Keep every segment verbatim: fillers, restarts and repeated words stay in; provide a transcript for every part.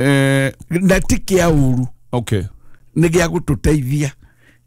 Eh, Na ti kĩa ũru. Okay. Nĩ gĩa gũtũteithia.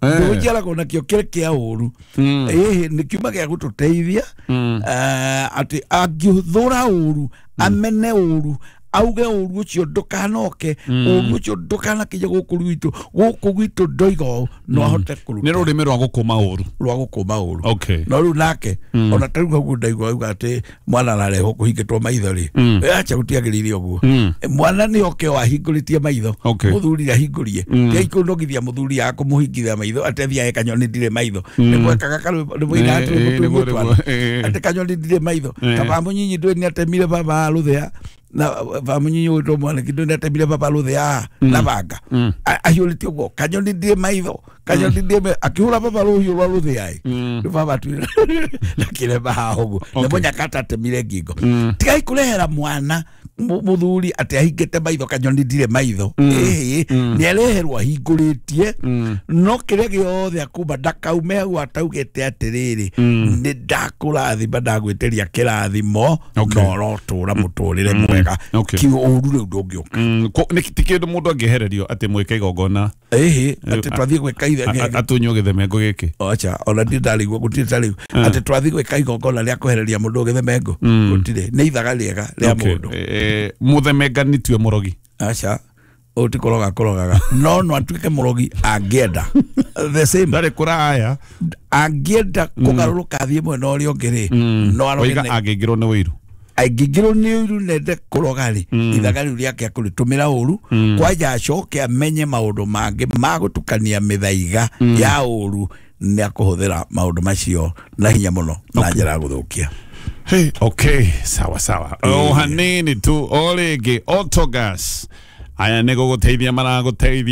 Eh. Ndũnjiaragwo nakĩo kĩrĩ kĩa ũru. Mm. Ĩhĩ, nĩ kiuma gĩa gũtũteithia. Mm. Eh, atĩ angĩthũra ũru, amene ũru, auge ũru ũcio ndũkanoke, ũru ũcio ndũkanakinye gũkũ gwitũ, gũkũ gwitũ ndoiga ũũ, no ahote Nĩ kũruta. rũrĩmĩ rwa gũkũma ũru. Rwa gũkũma ũru. Okay. No rĩu nake ona ta rĩu hau ndaigua auga atĩ mwana ararehwo kũhingĩtwo maitho rĩ, acha, gũtiagĩrĩire ũguo. Mm. Mwana nĩ oke o ahingũrĩtie maitho. Okay. Mũthuri ahingũrie tiaikũnogithia mũthuri akũmũhingithia maitho atĩ athiae "Kanyoni ndirĩ maitho". Nĩ gwekaga karwĩmbo nĩ mũinaga Eh, twĩmbo eh, tũu nĩguo, twana. nĩguo, eh. Atĩ "Kanyoni ndirĩ maitho". Eh. Ta bamũnyinyi ndũĩ nĩ atemire baba rũthĩa na bamũnyinyi wĩtwo mwaniki ndũĩ nĩ atemire baba rũthĩa na banga. A- ahiũrĩtie ũguo "Kanyoni ndirĩ maitho, kanyoni ndirĩ maitho", akĩhũra baba rũhiũ rwa rũthĩa ĩ. Rĩu baba atuire na kĩremba haha ũguo nĩ Okay. mũnyakata atemire ngingo. Tigai kũrehera mwana mu- mũthuri atĩ ahingĩte maitho "Kanyoni ndirĩ maitho". Ĩhĩ, nĩ areherwo ahingũrĩtie, no kĩrĩa gĩothe akuma ndakaume hau ataugĩte atĩrĩrĩ, "Nĩ ndakũrathima, ndagwĩtĩria kĩrathimo Okay. na ũrotũra mũtũrĩre mwega." Okay. Ki ũru rĩu ndũngĩũka. Mm, ko- nĩ ti kĩndũ mũndũ angĩehererio atĩ mwĩke igongona. Ĩhĩ, atĩ twathiĩ gwĩka a- ithe a- atunywo gĩthemengo gĩkĩ. Acha, ona ndi ndarigwo, gũtirĩ ta rĩu atĩ twathiĩ gwĩka igongona rĩa kwehereria mũndũ gĩthemengo, gũtirĩ. Nĩ ithaga rĩega rĩa Okay. mũndũ. Eh, mũthemengani tiwe mũrogi? Aca, ũyũ ti kũroga kũrogaga, no no atuĩke mũrogi angĩenda, the same. Ndarĩ kũraya. Angĩenda kũgarũrũka athiĩ mwena ũrĩa ũngĩ rĩ, no aroge. Waiga nĩ- angĩingĩrwo nĩ wĩiru. Angĩingĩrwo nĩ ũiru nende kũroga rĩ, ithaga rĩu rĩake akũrĩtũmĩra ũru kwanja, acoke amenye maũndũ mangĩ ma gũtukania mĩthaiga ya ũru, nĩ akũhũthĩra maũndũ macio na hinya mũno na njĩra ya gũthũkia. Hey, okay, sawa sawa. O hanini tu, o rĩngĩ, Autogas aya nĩ gũgũteithia maragũteithia.